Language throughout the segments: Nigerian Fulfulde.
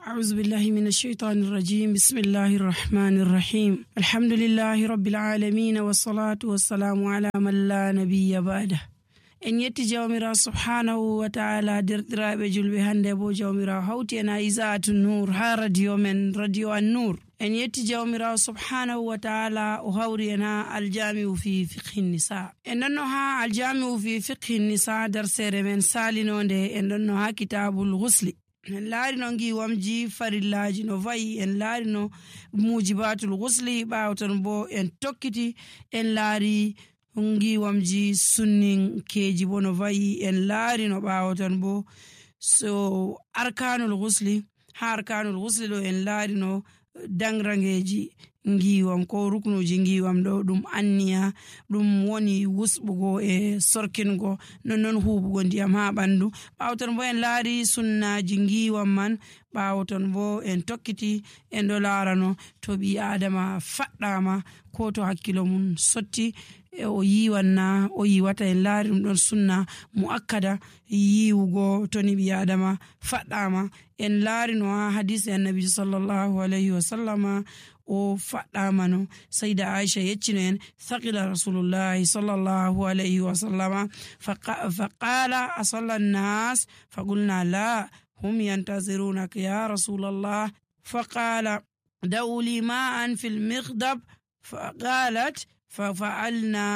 أعوذ بالله من الشيطان الرجيم. بسم الله الرحمن الرحيم. الحمد لله رب العالمين والصلاة والسلام على من لا نبي بعده. En yetti jawmira subhanahu wa ta'ala derɗiraɓe julɓe hande bo jawmira hawti en Izatu Nur ha radio men radio An-Nur. En yetti jawmira subhanahu wa ta'ala o hawri en ha aljami'u fi fiqhi nisa. En ɗonno ha aljami'u fi fiqhi nisa darsere men salinonde en ɗonno ha kitabul ghusli. En laarino ngiwamji farillaji no vayi, en laarino mujibatul ghusli, ɓawton bo en tokkiti en laari ngiwamji sunninkeji bo no vayi, en laarino ɓawton bo so arkanul ghusli. Ha arkanul ghusli ɗo en laarino dangrangeji ngiwam ko ruknuji ngiwam ɗo ɗum anniya, ɗum woni wusɓugo e sorkingo non huɓugo ndiyam ha ɓandu. ɓawton bo en laari sunnaji ngiwam man. ɓawton bo en tokkiti en ɗo laarano to ɓi adama faɗɗama ko to hakkilo mum sotti o yiwanna o yiwata. en laari ɗum ɗon sunna muakkada yiwugo to ni ɓi adama faɗɗama. en laarino ha hadisi annabi sallallahu alayhi wa sallama o faɗɗamano. sayda Aisha yeccino en thaqila rasulullahi sallallahu alayhi wa sallama faqala asalla an-nas faqulna la hum yantazirunaka ya rasulallah faqala da'u li ma'an fil mikhdab faqalat ففعلنا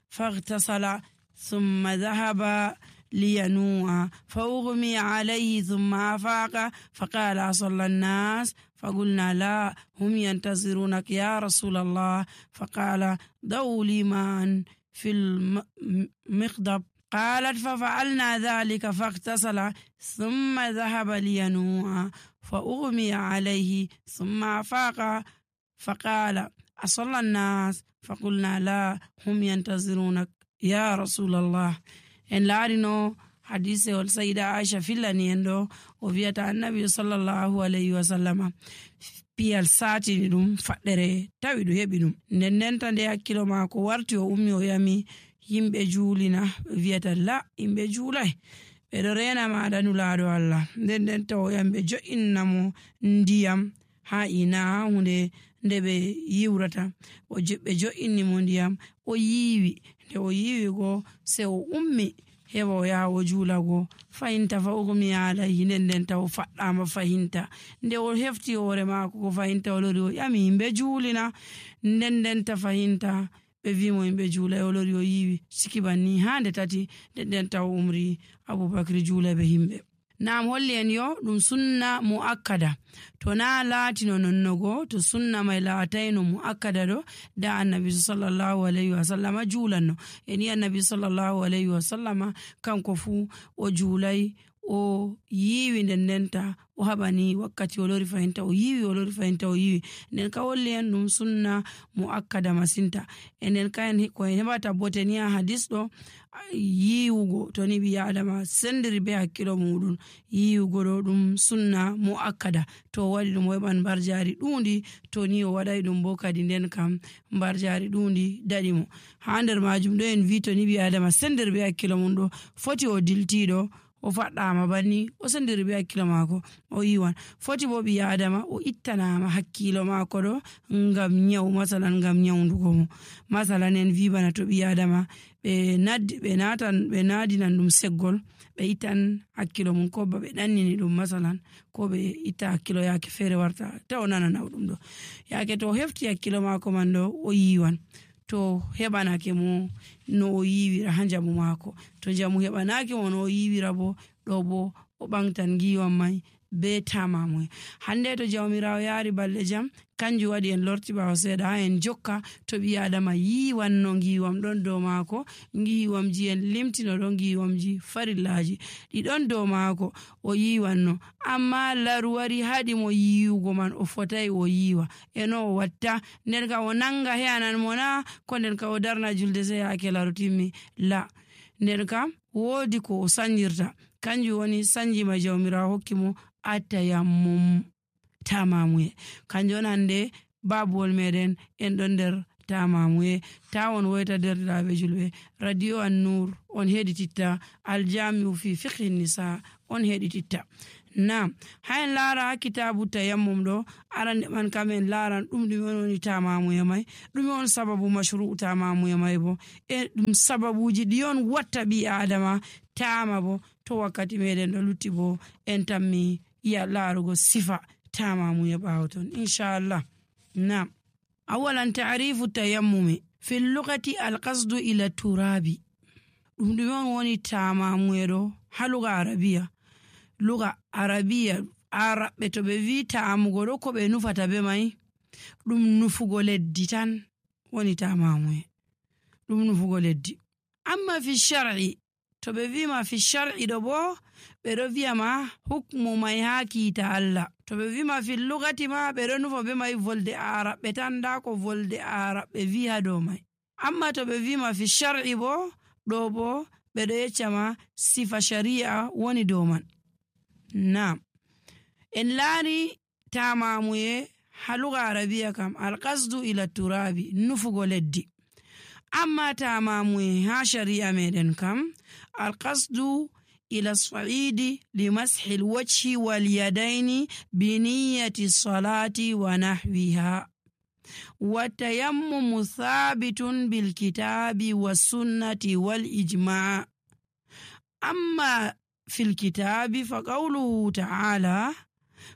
فاغتسل ثم ذهب لينوء فأغمي عليه ثم أفاق فقال أصلى الناس فقلنا لا هم ينتظرونك يا رسول الله فقال دعوا لي ماء في المخضب قالت ففعلنا ذلك فاغتسل ثم ذهب لينوء فأغمي عليه ثم أفاق فقال أصلى الناس فقلنا لا هم ينتظرونك يا رسول الله. en laarino hadise ol sayda Aisha fillani en ɗo o wiyata annabi sallallahu alayhi wa sallama piyal satini ɗum faɗɗere tawi ɗum heɓi ɗum. ndenta nde hakkilo mako warti o ummi o yami yimɓe juulina wiyata la yimɓe juulay ɓeɗo rena maɗa nulaɗo Allah. ndenta o yami ɓe jo'innamo ndiyam ha ina hunde nde ɓe yiwrata. ɓe jo'inni mo ndiyam o yiwi. nde o yiwi go se o ummi heɓa o yaha o juulago fahinta fa ugmi alayhi. ndenta o faɗɗama fahinta. nde o hefti hoore mako ko fahinta o lori o ƴami yimɓe juulina. ndenta fahinta ɓe wimo yimɓe juula o lori o yiwi sikibanni ha nde tati. ndenta o umri Abubakar juula be himɓe. Naam holli en yo ɗum sunna muakkada. to na laatino nonnogo to sunna mai laatayno muakkada ɗo da annabi sallallahu alayhi wa sallama juulanno. en yi annabi sallallahu alayhi wa sallama kanko fu o juulay o yiwi ndenta o haɓani wakkati o lori fahinta o yiwi o lori fahinta o yiwi. nden ka holli en ɗum sunna muakkada masinta. enen kaen ko en heɓata boteni ha hadis ɗo yiwugo to ni ɓi adama sendiri be hakkilo muɗum. yiwugo ɗo ɗum sunna muakkada. to o waɗi ɗum o heɓan mbarjari ɗundi, to ni o waɗai ɗum bo kadi nden kam mbarjari ɗundi daɗimo. ha nder majum ɗo en wi to ni ɓi adama sendiri be hakkilo mum ɗo foti o diltiɗo o faɗɗama banni o sendiri be hakkilo mako o yiwan. foti bo ɓi adama o ittanama hakkilo mako ɗo ngam nyawu, masalan ngam nyawdugo mo. masalan en wi bana to ɓi adama ɓe nadinan ɗum seggol ɓe ittan hakkilo mum, ko ba ɓe ɗannini ɗum masalan, ko ɓe itta hakkilo yake feere warta ta o nana nawɗum ɗo. yake to o hefti hakkilo mako man ɗo o yiwan. to heɓanake mo no o yiwira ha jamu mako. to jamu heɓanake mo no o yiwira bo ɗo bo o ɓangtan ngiwam mai be tamamu. hande to jawmirawo yaari balɗe jam kanjum waɗi en lorti ɓawo seeɗa ha en jokka to ɓi adama yiwanno ngiwam ɗon dow mako. ngiwamji en limtino ɗo ngiwamji farillaji ɗiɗon dow mako o yiwanno, amma laru wari haɗi mo yiwugo man o fotai o yiwa. eno o watta nden ka o nanga heyanan mo na ko nden ka o darna julde se yake laru timmi la. nden kam woodi ko o sanjirta, kanjum woni sanjima jawmirawo hokki mo atayammum tamamuye. kanjum on hande babuwol meɗen en ɗon nder tamamuye. tawon woyta derɗiraɓe julɓe radio An-Nur on heɗititta aljami'u fi fiqhi nisa on heɗititta. Naam, hayen laara kitabu tayammum ɗo arande man kamen laaran ɗume woni tamamuye mai, ɗume on sababu mashru'u tamamuye mai bo, e ɗum sababuji ɗi on watta ɓi adama tama bo to wakkati meɗen ɗo lutti bo en tammi ya laarugo sifa tamamuye ɓawo ton inchallah. Naam, awalan ta'rifu tayammumi fil lughati alqasdu ila turabi. ɗum on woni tamamuye ɗo ha lugha arabiya araɓɓe to ɓe wi tamugo ɗo ko ɓe nufata be mai ɗum nufugo leddi tan woni tamamuye, ɗum nufugo leddi. Amma fi shar'i to ɓe wima fi shar'i ɗo bo ɓe ɗo wiyama hukmu mai ha kiita Allah. To ɓe wima fi lugati ma ɓe ɗo nufa be mai volde araɓɓe tan, nda ko volde araɓɓe wi ha dow mai. Amma to ɓe wima fi shar'i bo ɗo bo ɓe ɗo yeccama sifa shari'a woni dow man. Naam, en laari tamamuye ha lugha arabiya kam alqasdu ila turabi nufugo leddi. Amma tamamuye ha shari'a meɗen kam alqasdu ila sa'idi li mashi alwajhi wal yadaini bi niyyati salati wa nahwiha wa tayammumu thabitun bil kitabi was sunnati wal ijma'. Amma fil kitabi fa qawluhu ta'ala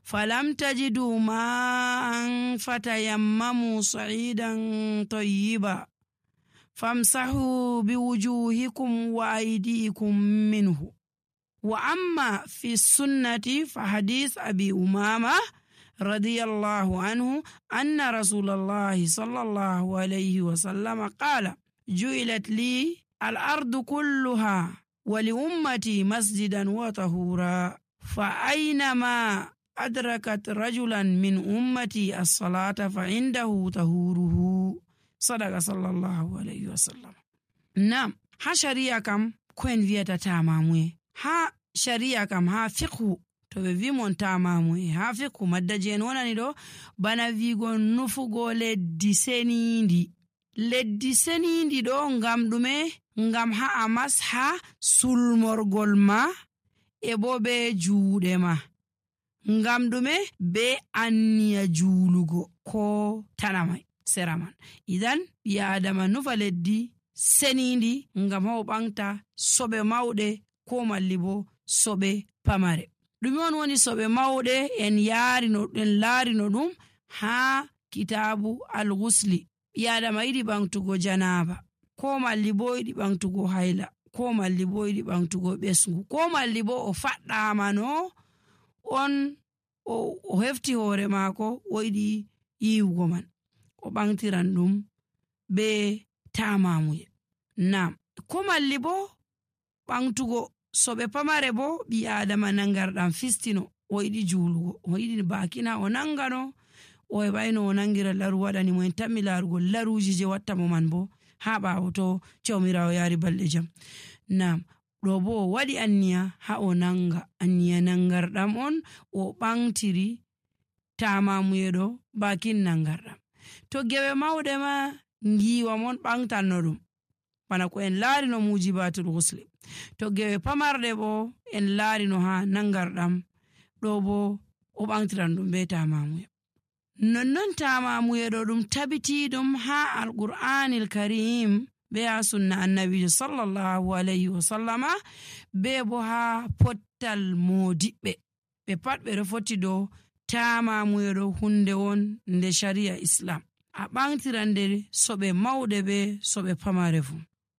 falam tajidu ma'an fatayammamu sa'idan tayyiba famsahu biwujuhikum wa aydikum minhu. Wa amma fi sunnati fa hadith abi umama radiyallahu anhu anna rasulallahi sallallahu alayhi wa sallam qala ju'ilat li al-ardu kulluha wa li ummati masjidan wa tahura fa aynama adrakat rajulan min ummati as-salata fa indahu tahuruhu. Sadaqa sallallahu alayhi wa sallam. Naam, ha sharia kam koen wiyata tamamuye, ha sharia kam ha fiqhu to ɓe wimon tamamuye ha fiqhu maddaji en wonani ɗo bana wigo nufugo leddi senindi ɗo ngam ɗume, ngam ha a masha sulmorgol ma e bo be juuɗe ma, ngam ɗume be anniya juulugo ko tanamai sera man. Idan ɓi adama nufa leddi senindi ngam ha o ɓangta soɓe mawɗe ko malli bo soɓe pamare. ɗume on woni soɓe mawɗe? En laarino ɗum ha kitabu al-ghusli. ɓi adama yiɗi ɓangtugo janaba, ko malli bo yiɗi ɓangtugo hayla, ko malli bo yiɗi ɓangtugo ɓesgu, ko malli bo o faɗɗamano on o hefti hoore maako o yiɗi yiwugo man, o ɓangtiran ɗum be tamamuye. Naam, ko malli bo ɓangtugo soɓe pamare bo ɓi adama nangarɗam fistino o yiɗi juulugo, o yiɗi bakina o nangano o heɓayno o nangira laru waɗani mo en tammi laarugo laruji je watta mo man bo ha ɓawo to jawmirawo yaari balɗe jam. Naam, ɗo bo o waɗi anniya ha o nanga, anniya nangarɗam on o ɓangtiri tamamuye ɗo bakin nangarɗam. To gewe mawɗe ma ngiwa mon ɓangtanno ɗum bana ko en laarino mujibatul ghusli. To gewe pamarɗe bo en laarino ha nangarɗam ɗo bo o ɓangtiran ɗum be tamamuye. Nonnon tamamuye ɗo ɗum tabitiɗum ha alqur'anil karim be ha sunna annabijo sallallahu alayhi wa sallama be bo ha pottal modiɓɓe ɓe pat ɓe ɗo foti dow tamamuye ɗo hunde won nde sharia islam, a ɓangtiran nde soɓe mawɗe be soɓe pamare fu.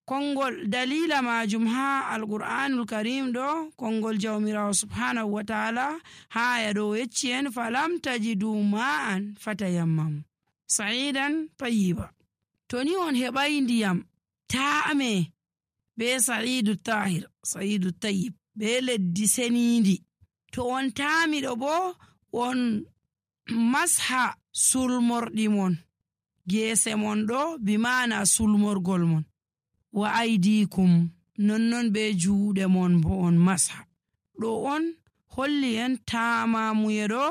Kongol dalila majum ha alqur'anul karim ɗo kongol jawmirawo subhanahu wa ta'ala ha aya ɗo yecci en falam tajidu ma'an fatayammamu sa'idan tayyiba. To ni on heɓai ndiyam ta'ame be sa'idu tahir, sa'idu tayyib be leddi senindi, to on tami ɗo bo on masha sulmorɗi mon, gese mon ɗo bi mana sulmorgol mon, wa aydikum nonnon be juuɗe mon bo on masha. ɗo on holli en tamamuye ɗo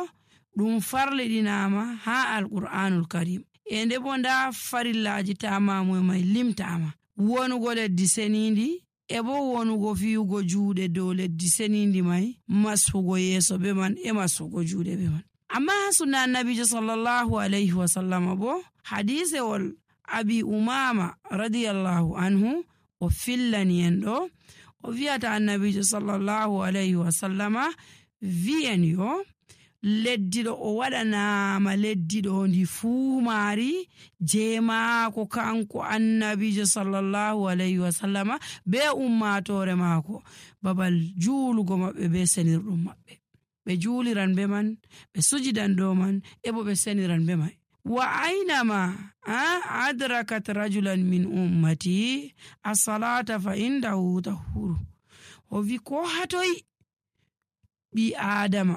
ɗum farliɗinama ha alqur'anul karim, e nde bo nda farillaji tamamuye mai limtama: wonugo leddi senindi e bo wonugo fiyugo juuɗe dow leddi senindi mai masfugo yeeso be man e masfugo juuɗe be man. Amma sunna annabijo sallallahu alayhi wa sallama bo hadisewol abi umama radiyallahu anhu o fillani en ɗo o wi'ata annabijo sallallahu alayhi wa sallama wi'en yo leddiɗo o waɗanama leddiɗo ndi fuu maari je maako kanko annabijo sallallahu alayhi wa sallama be ummatore maako babal juulugo maɓɓe be senirɗum maɓɓe, ɓe juuliran be man, ɓe sujidan dow man, e bo ɓe seniran be mai. Wa aynama adrakat rajulan min ummati as-salata fa indahu tahuru. O wi ko hatoy ɓi adama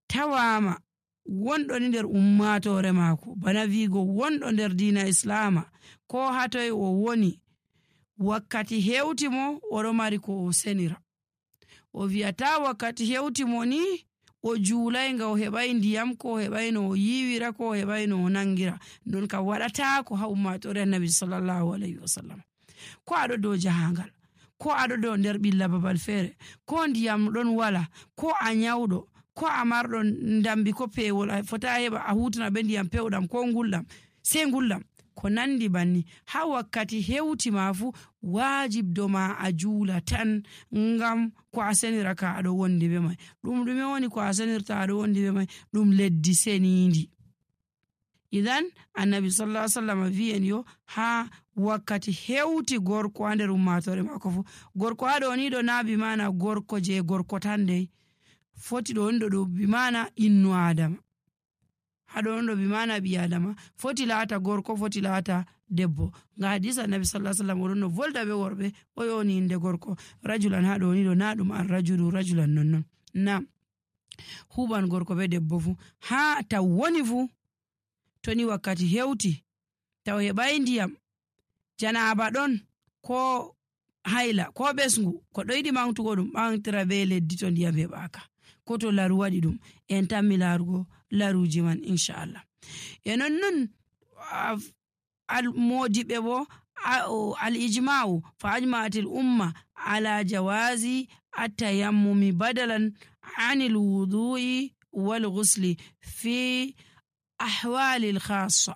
tawama wonɗo ni nder ummatore maako, bana wigo wonɗo nder diina islama, ko hatoy o woni wakkati hewti mo oɗo mari ko o senira. O wi'ata wakkati hewti mo ni o juulay nga o heɓay ndiyam, ko o heɓay no o yiwira, ko o heɓay no o nangira. Non kam waɗata ko ha ummatore annabi sallallahu alayhi wa sallam. Ko aɗo dow jahangal, ko aɗo dow nder ɓilla babal feere, ko ndiyam ɗon wala, ko a nyawɗo, ko a marɗo ndambi ko pewol a fota heɓa a hutana be ndiyam pewɗam ko ngulɗam, sey ngulɗam ko nandi banni. Ha wakkati hewti ma fu wajib do ma a juula tan ngam ko a senira ka aɗo wondi be mai. Ɗum ɗume woni ko a senirta aɗo wondi be mai? Ɗum leddi senindi. Idan annabi sallallahu alaihi wasallam wi'en yo ha wakkati hewti gorko ha nder ummatore mako fu, gorko haɗo ni ɗo na bi mana gorko je gorko tan dai, foti ɗo on ɗo bi mana innu adama, haɗo on ɗo bi mana ɓi adama, foti laata gorko, foti laata debbo. Nga hadisa annabi sallallahu alaihi wasallam oɗon no volda be worɓe o yoni inde gorko rajulan, haɗo ni ɗo na ɗum an rajulu rajulan nonnon, na huban gorko be debbo fu ha taw woni fu. To ni wakkati hewti taw heɓai ndiyam, janaba ɗon, ko hayla, ko ɓesngu, ko ɗo yiɗi mantugo ɗum ɓantira be leddi to ndiyam heɓaka, ko to laru waɗi ɗum en tammi larugo laruji man inchallah. E nonnon modiɓe bo al-ijma'u fa ajma'atil umma ala jawazi at-tayammumi badalan anil wudu'i wal ghusli fi ahwalil khassa.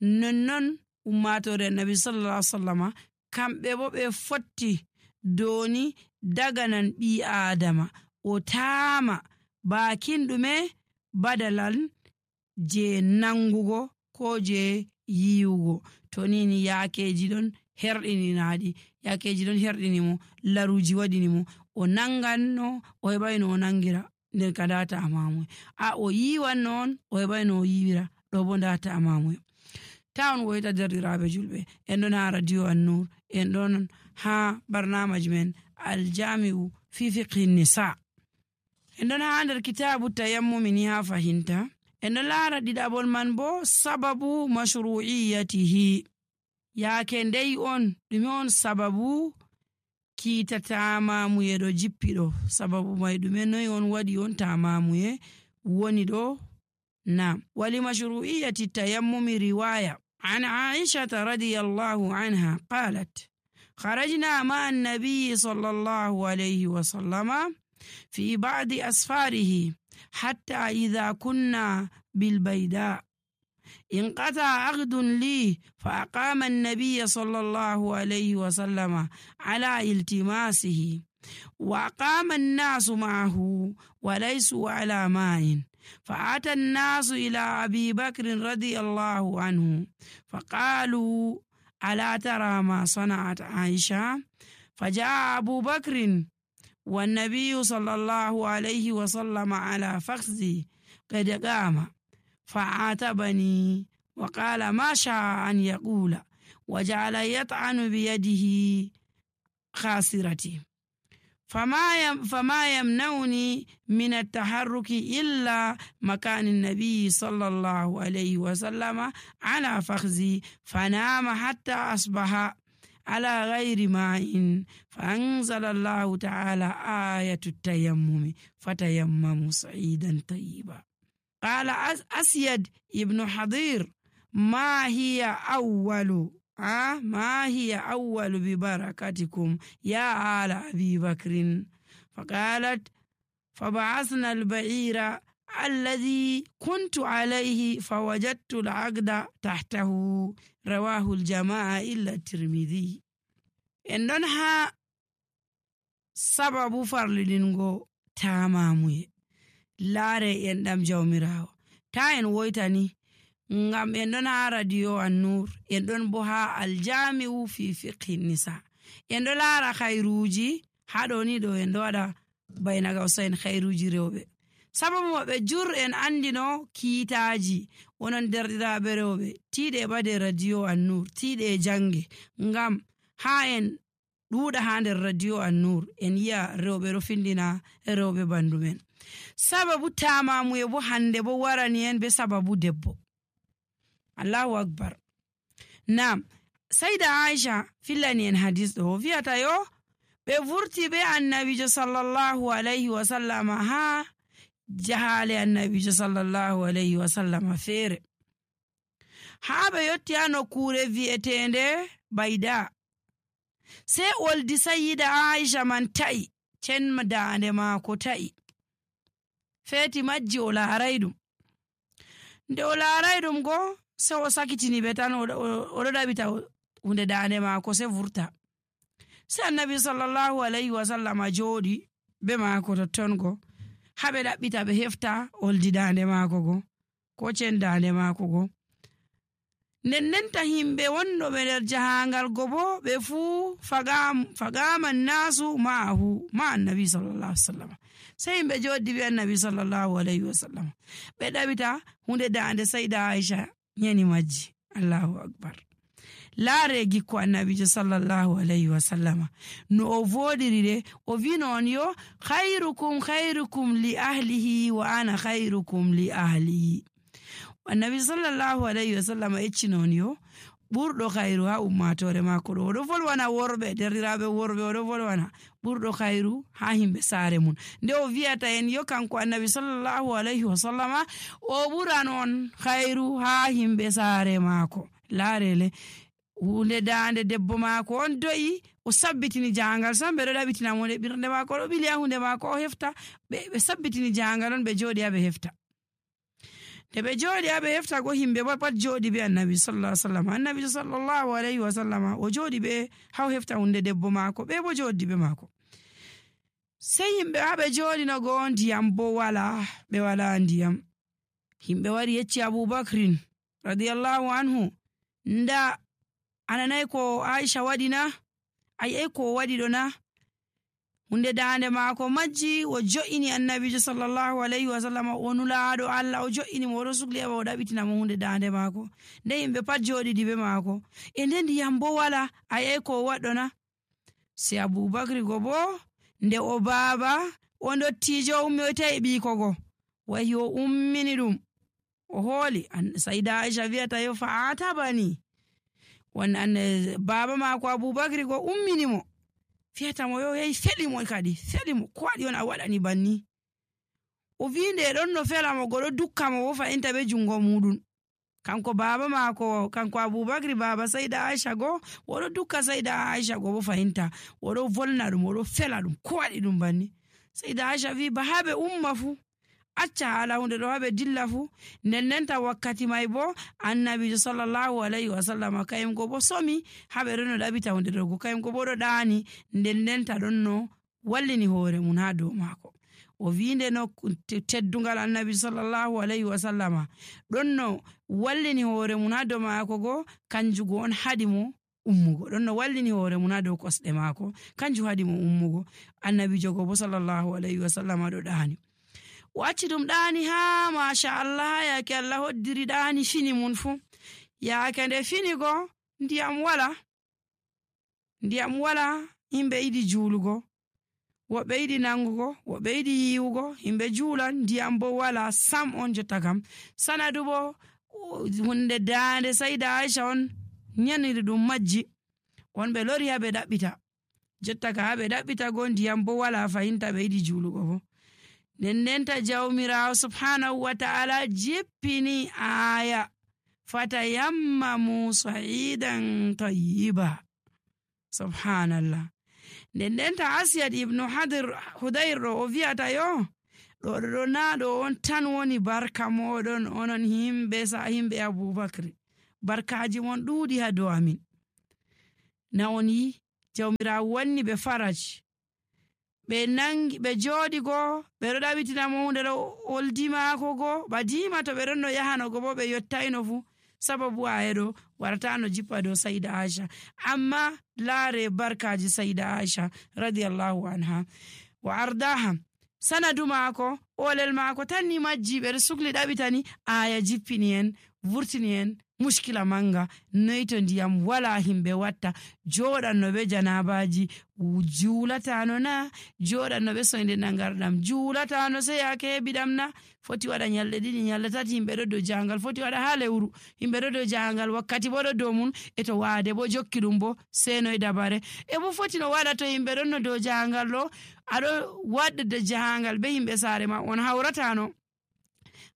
Nonnon ummatore annabi sallallahu alaihi wasallama kamɓe bo ɓe fotti doni daganan ɓi adama o tama bakin ɗume badalan je nangugo ko je yiwugo. To nini yakeji ɗon herɗininaɗi, yakeji ɗon herɗinimo, laruji waɗinimo, o nanganno o heɓai no o nangira, nden ka data amamu o yiwan non o heɓai no o yiwira, ɗo bo data amamu. Taon woyta derɗiraɓe julɓe, en ɗon ha radio An-Nur, en ɗon ha barnamaji men aljami'u fi fiqhi nisa, en ɗon ha nder kitabu tayammumi ni ha fahinta. En ɗon lara ɗiɗaɓol man bo sababu mashru'iyatihi, yake ndey on ɗume on sababu kiita tamamuye ɗo jippiɗo, sababu mai ɗume noy on waɗi on tamamuye woni ɗo. Na wali mashru'iyati tayammumi riwaya an Aishata radiyallahu anha qalat kharajna ma'a an-nabiy sallallahu alayhi wa sallama fi ba'di asfarihi hatta idha kunna bil bayda انقطع عقد لي فأقام النبي صلى الله عليه وسلم على التماسه وأقام الناس معه وليسوا على ماء فأتى الناس إلى أبي بكر رضي الله عنه فقالوا ألا ترى ما صنعت عائشة؟ فجاء أبو بكر والنبي صلى الله عليه وسلم على فخذي قد قام فعاتبني وقال ما شاء أن يقول وجعل يطعن بيده خاسرتي فما يمنعني من التحرك إلا مكان النبي صلى الله عليه وسلم على فخذي فنام حتى أصبح على غير ماء فأنزل الله تعالى آية التيمم فتيمموا صعيدا طيبا. قال أسيد ابن حضير ما هي أول ما هي أول ببركتكم يا آل أبي بكر فقالت فبعثنا البعير الذي كنت عليه فوجدت العقد تحته رواه الجماعة إلا الترمذي. إنها سبب فرلدنغو تاماموي laare en ɗam jawmirawo ta en woytani ngam en ɗon ha radio An-Nur en ɗon bo ha aljami'u fi fiqhi nisa en ɗo laara khairuji ha ɗo ni ɗo en ɗo waɗa bayna gausain khairuji rewɓe sababu maɓɓe jur en andino kiitaji wonon derɗiraɓe rewɓe tiiɗe ɓade radio An-Nur tiiɗe jange ngam ha en ɗuuɗa ha nder radio An-Nur en yi'a rewɓe ɗo findina rewɓe bandu men. Sababu tamamuye bo hande bo warani en be sababu debbo. Allahu akbar. Naam, Saida Aisha fillani en hadis ɗo wi'ata yo ɓe vurti be annabijo sallallahu alaihi wa sallama ha jahale annabijo sallallahu alaihi wa sallama feere ha ɓe yotti ha nokkure vi'etende Baida. Sai oldi Sayyida Aisha man ta'i cenma daande maako ta'i feeti majji o laaray ɗum nde o laaray ɗum go sai o sakitini ɓe tan oɗo ɗaɓita hunde daande maako sai vurta sai annabi sallallahu alaihi wa sallama jooɗi be maako totton go ha ɓe ɗaɓɓita ɓe hefta oldi daande maako go ko cen daande maako go nennenta himɓe wonɗoɓe nder jahangal go bo ɓe fuu fagaman nasu ma'ahu ma annabi sallallahu alaihi wasallam sai himɓe joɗi be annabi sallallahu alaihi wasallam ɓe ɗaɓita hunde dande Saida Aisha nyani majji. Allahu akbar. Laare gikko annabijo sallallahu alaihi wasallama no o vodiri de o vi non yo khairukum li ahlihi wa ana khairukum li ahli. Annabi sallallahu alaihi wasallam ecci non yo ɓurɗo khairu ha ummatore mako ɗo oɗo volwana worɓe derɗiraɓe worɓe oɗo volwana ɓurɗo khairu ha himɓe saare mun nde o wi'ata en yo kanko annabi sallallahu alaihi wasallama o ɓuran on khairu ha himɓe saare mako. Laarele hunde dande debbo mako on do'i o sabbitini jangal sam ɓe ɗo ɗaɓitina mo nde ɓirde mako ɗo ɓili ha hunde mako o hefta ɓe sabbitini jangal on ɓe joɗi ha ɓe hefta nde ɓe jooɗi ha ɓe hefta go himɓe bo pat jooɗi be annabi sallallahu alaihi wasallam annabi sallallahu alaihi wasallam o jooɗi ɓe haw hefta hunde debbo maako ɓe bo jooɗi be maako sai himɓe ha ɓe jooɗi no go ndiyam bo wala ɓe wala ndiyam himɓe wari yecci Abubakrin radiyallahu anhu nda ananai ko Aisha waɗi na ai ko waɗi ɗo na hunde dande maako majji o jo'ini annabijo sallallahu alaihi wasallam o nulaaɗo Allah o jo'ini mo oɗo sugli aba o ɗaɓitina mo hunde dande maako nde yimɓe pat joɗiɗi be maako e nde ndiyam bo wala ai ko waɗɗo na sai Abubakri go bo nde o baaba o ndottijo ummi o tawi ɓiiko go wayi o ummini ɗum o hooli Saida Aisha wi'ata yo fa atabani won baaba maako Abubakri go ummini mo fiyata mo yo yahi feli mo kadi feli mo ko waɗi on a waɗani banni o winde ɗon no fela mo goɗo dukka mo wo fa'inta be jungo muɗum kanko baba maako kanko Abubakri baba Saida Aisha go oɗo dukka Saida Aisha go bo fa'inta oɗo volna ɗum oɗo fela ɗum ko waɗi ɗum banni Saida Aisha wi ba habe umma fu acca hala hunde ɗo habe dilla fu nennenta wakkati mai bo annabijo sallallahu alaihi wasallam kayim go bo somi habe ɗon no ɗaɓita hunde ɗo go kayim go bo ɗo ɗaani nennenta ɗon no wallini hoore mun ha dow maako o winde no teddungal annabi sallallahu alaihi wasallama ɗon no wallini hoore mun ha dow maako go kanjugo on haɗi mo ummugo ɗon no wallini hoore mun ha dow kosɗe maako kanju haɗi mo ummugo annabijo go bo sallallahu alaihi wasallama ɗo ɗaani o acci ɗum ɗaani ha masha Allah yaake Allah hoddiri ɗaani fini mun fu yaake nde fini go ndiyam wala himɓe yiɗi juulugo woɓɓe yiɗi nangugo woɓɓe yiɗi yiwugo himɓe juulan ndiyam bo wala sam on jotta kam sanadu bo hunde daande Saida Aisha on nyaniri ɗum majji on ɓe lori ha ɓe ɗaɓɓita jotta ka ha ɓe ɗaɓɓita go ndiyam bo wala fahinta ɓe yiɗi juulugo bo nennenta jawmirawo subhanahu wa ta'ala jippini aya fatayammamu sa'idan tayyiba. Subhanallah. nden ta Asiyad ibnu Hudayr ɗo o wi'ata yo ɗo na ɗo on tan woni barka moɗon onon himɓe Abubakar, barkaji mon ɗuuɗi ha dow amin. Na on yi jawmirawo wanni ɓe faraj, ɓe jooɗi go ɓe ɗo ɗaɓitina mo hunde ɗo oldi maako go ba dima to ɓe ɗon no yahano go bo ɓe yottaino fu sababu ayeɗo waratano jippa dow Saida Aisha. Amma laare barkaji Saida Aisha radiyallahu anha wa ardaha, sanadu maako olel maako tan ni majji ɓe ɗo sukli ɗaɓitani aya jippini en vurtini en mushkila manga noy to ndiyam wala himɓe watta joɗanno ɓe janabaji juulatano na, joɗanno ɓe soyde nangarɗam juulatano sey yake heɓiɗam na, foti waɗa nyalɗe ɗiɗi nyalɗe tati himɓe ɗo dow jangal, foti waɗa ha lewru himɓe ɗo dow jangal, wakkati bo ɗo dow mun e to waade bo jokki ɗum bo senoy dabare e bo foti no waɗa to himɓe ɗon no dow jangal ɗo aɗo waɗde jahangal be himɓe saare ma on hawratano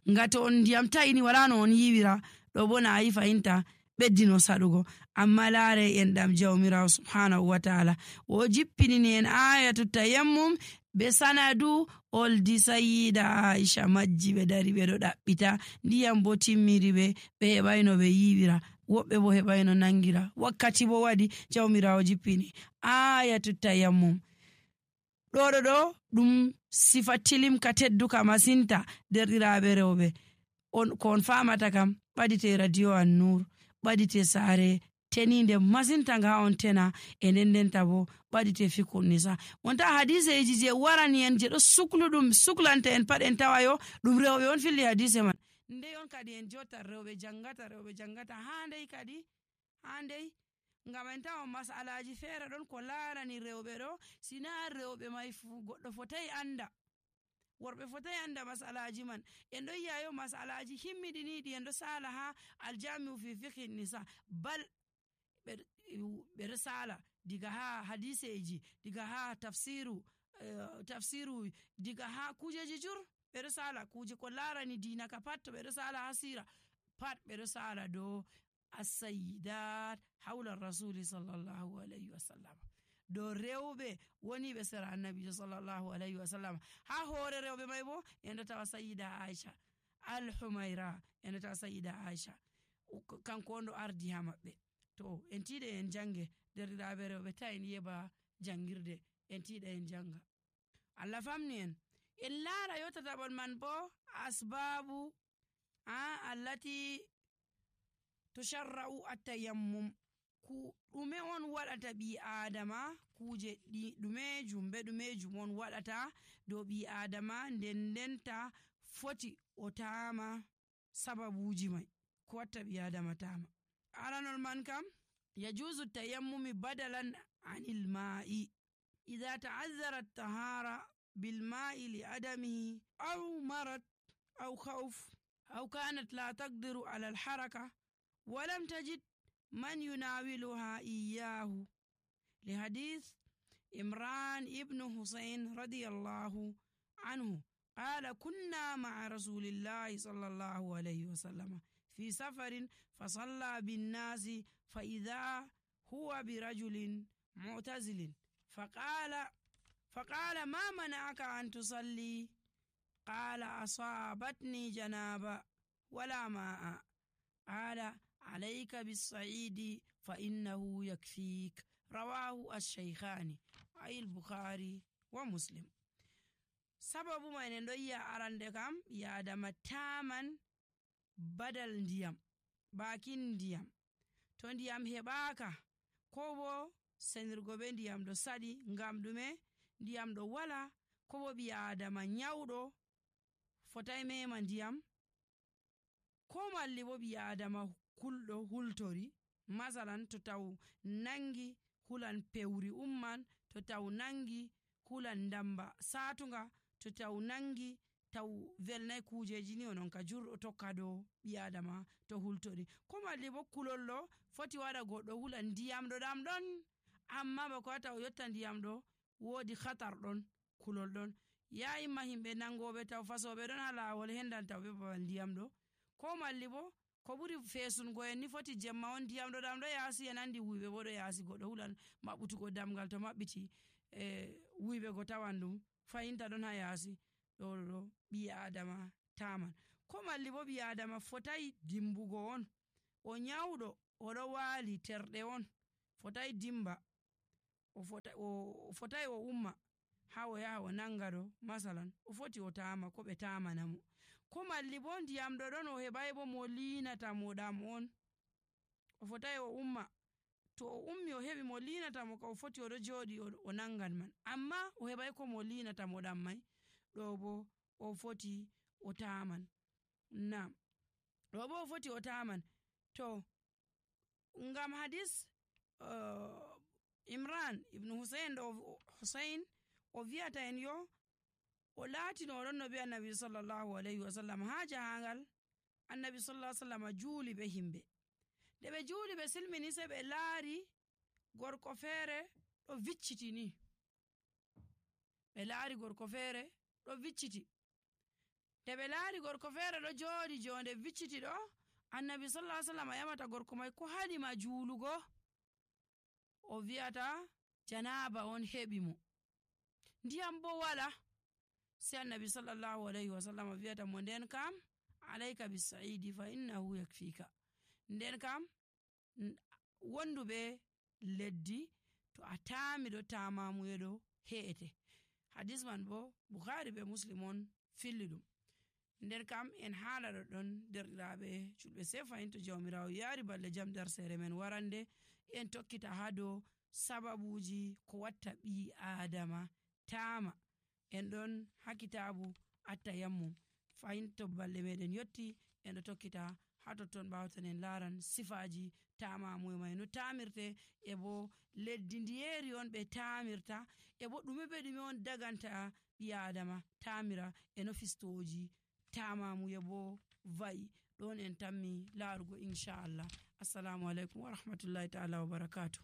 nga to on ndiyam tayini wala no on yiwira ɗo bo na yi fayinta ɓeddino saɗugo. Amma laare en ɗam jawmirawo subhanahu wa ta'ala o jippinini en ayatu tayammum be sanadu oldi Sayyida Aisha majji ɓe dari ɓe ɗo ɗaɓɓita ndiyam bo timmiri ɓe heɓayno ɓe yiwira, woɓɓe bo heɓayno nangira, wakkati bo waɗi jawmirawo jippini ayatu tayammum. ɗo ɗum sifa tilimka tedduka masinta derɗiraɓe rewɓe ko on famata kam ɓadite radio An-Nur, ɓadite saare teninde masinta nga on tena e ndendenta bo ɓadite Fiqhun Nisa. Wonta hadiseji je warani en je ɗo suklanta en pat en tawayo ɗum rewɓe on filli hadise man. Ndey on kadi en jotta rewɓe jangata handey ngam en tawa masalaji feere ɗon ko larani rewɓe ɗo sina rewɓe mai fu goɗɗo fotai anda, worɓe fotai anda masalaji man. En ɗo yi'ayo masalaji himmiɗiniɗi en ɗo sala ha aljami'u fi Fiqhin Nisa, bal ɓe ɗo sala diga ha hadiseji, diga ha tafsiru diga ha kujeji jur ɓe ɗo sala kuje ko larani dina ka pat to ɓe ɗo sala ha sira pat ɓe ɗo sala dow as-sayyidat hawla rasuli sallallahu alayhi wa sallam, dow rewɓe woni ɓe sera annabijo sallallahu alayhi wa sallam. Ha hoore rewɓe mai bo en ɗo tawa Sayyida Aisha al-Humaira, en ɗo tawa Sayyida Aisha kanko on ɗo ardi ha maɓɓe. To en tiɗe en jange derɗiraɓe rewɓe ta en yeba jangirde, en tiɗa en janga, Allah famni en laara yottataɓol man bo asbabu allati tusharra'u at-tayammum. ɗume on waɗata ɓi adama, kuje ɗumejum on waɗata dow ɓi adama ndendenta foti o tama sababuji mai ko watta ɓi adama tama. aranol man kam yajuzu tayammumi badalan anil ma'i idha ta'azzara at-tahara bil ma'i li adamihi aw marad aw khawf aw kanat la taqdiru ala al-haraka wa lam tajid من يناولها إياه لحديث إمران ابن حسين رضي الله عنه قال كنا مع رسول الله صلى الله عليه وسلم في سفر فصلى بالناس فإذا هو برجل معتزل فقال ما منعك أن تصلي؟ قال أصابتني جنابة ولا ماء. قال عليك بالصعيد فإنه يكفيك. رواه الشيخان أي البخاري ومسلم. sababu mai en ɗo yi'a arande kam yadama taman badal ndiyam, bakin ndiyam. To ndiyam heɓaka ko bo senirgo be ndiyam ɗo saɗi ngam ɗume ndiyam ɗo wala, ko bo ɓi adama nyawɗo fotai mema ndiyam, ko malli bo ɓi adama kulɗo hultori, masalan to taw nangi hulan pewri umman, to taw nangi hulan ndamba satunga, to taw nangi taw velnai kujeji ni onon ka jurɗo tokka dow ɓi adama to hultori, ko malli bo kulollo foti waɗa goɗɗo hulan ndiyam ɗo ɗam ɗon amma bako wata o yotta ndiyam ɗo wodi khatar ɗon, kulol ɗon ya imma himɓe nangoɓe taw fasoɓe ɗon ha lawol hendan taw ɓe babal ndiyam ɗo, ko malli bo ko ɓuri fesungo en ni foti jemma on ndiyam ɗo ɗam ɗo yaasi en andi wuyɓe bo ɗo yaasi goɗɗo hulan maɓɓutugo damgal to maɓɓiti wuyɓe go tawan ɗum fayinta ɗon ha yaasi ɗo ɓi adama taman ko malli bo ɓi adama fotai dimbugo on o nyawɗo oɗo waali terɗe on fotai dimba o fotai o umma ha o yaha o nanga ɗo masalan o foti o tama ko ɓe tamana mo ko malli bo ndiyam ɗo ɗon o heɓai bo mo linata mo ɗam on o fotai o umma to o ummi o heɓi mo linata mo ka o foti oɗo joɗi o nangan man amma o heɓai ko mo linata mo ɗam mai ɗo bo o foti o taman nam ɗo bo o foti o taman to ngam hadis Imran ibn Husayn o vi'ata en yo o laatino oɗon no be annabi sallallahu alayhi wa sallam ha jahangal annabi sallallahu alayhi wa sallam juuli be himɓe nde ɓe juuli ɓe silmini se ɓe laari gorko feere ɗo vicciti ni ɓe laari gorko feere ɗo vicciti nde ɓe laari gorko feere ɗo jooɗi jonde vicciti ɗo annabi sallallahu alayhi wa sallam yamata gorko mai ko haɗima juulugo o vi'ata janaba on heɓi mo ndiyam bo wala se annabi sallallahu alayhi wa sallam vi'ata mo nden kam alayka bisaidi fa innahu yakfika nden kam wonduɓe leddi to a taami ɗo tamamuyeɗo he'ete hadis man bo Bukhari be Muslim on filli ɗum nden kam en haala ɗoɗɗon derɗiraɓe julɓe se fayin to jawmirawo yaari balle jam nder sere men warande en tokkita ha dow sababuji ko watta ɓi adama tama en ɗon ha kitabu attayammum fayin to balle meɗen yotti en ɗo tokkita ha totton ɓawtan en laran sifaji tamamuye mai no tamirte e bo leddi ndiyeri on ɓe tamirta e bo ɗume be ɗume on daganta ɓi adama tamira e no fistoji tamamuye bo va'i ɗon en tammi larugo inchallah. Assalamu alaikum wa rahmatullahi ta'ala wa barakatuh.